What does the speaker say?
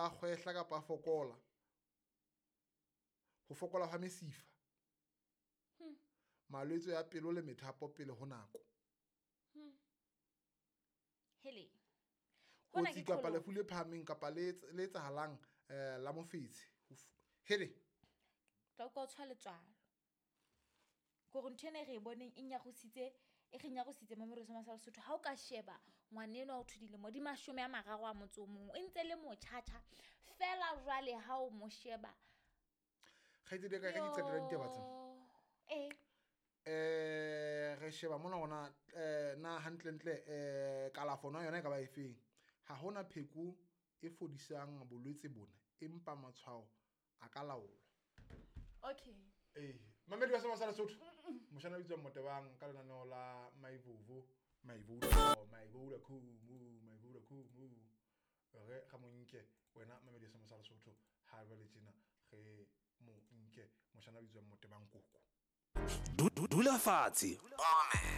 dula a kgwehla kapa a fokola. Ho fokola hwa mesifa. Malwetse a pelo le methapo pele ho nako. Hele. Hona Kotsi ke kapa qholotso. lefu le phahameng kapa le etsahalang la mofetshe. Hele. Tla utlwa o tshwa letswalo. Kore ntho ena e re e boneng e nyarositse, e re nyarositse Mamelodi sa Lesotho. Ha o ka sheba ngwana enwa o thwe dilemo di 31, e ntse le motjhatjha fela jwale ha o mo sheba. Kgaitsedi ya ka, re di qetela ditaba tsena. Yo. Eh. Re sheba mona hona na hantlentle kalafo na yona e ka ba efeng. Ha hona pheko e fodisang bolwetse bona, empa matshwao a ka laolwa. Okay. Eh, Mamelodi wa sa Lesotho. Moshana o bitswang Motebang ka lenaneo la Maivovo, Maivovo, Maivovo khumu, Maivovo khumu. Re ga mo nke wena Mamelodi wa sa Lesotho ha ba le tjena re mo nke moshana o bitswang Motebang Koko. Dula fatshe, o mamele.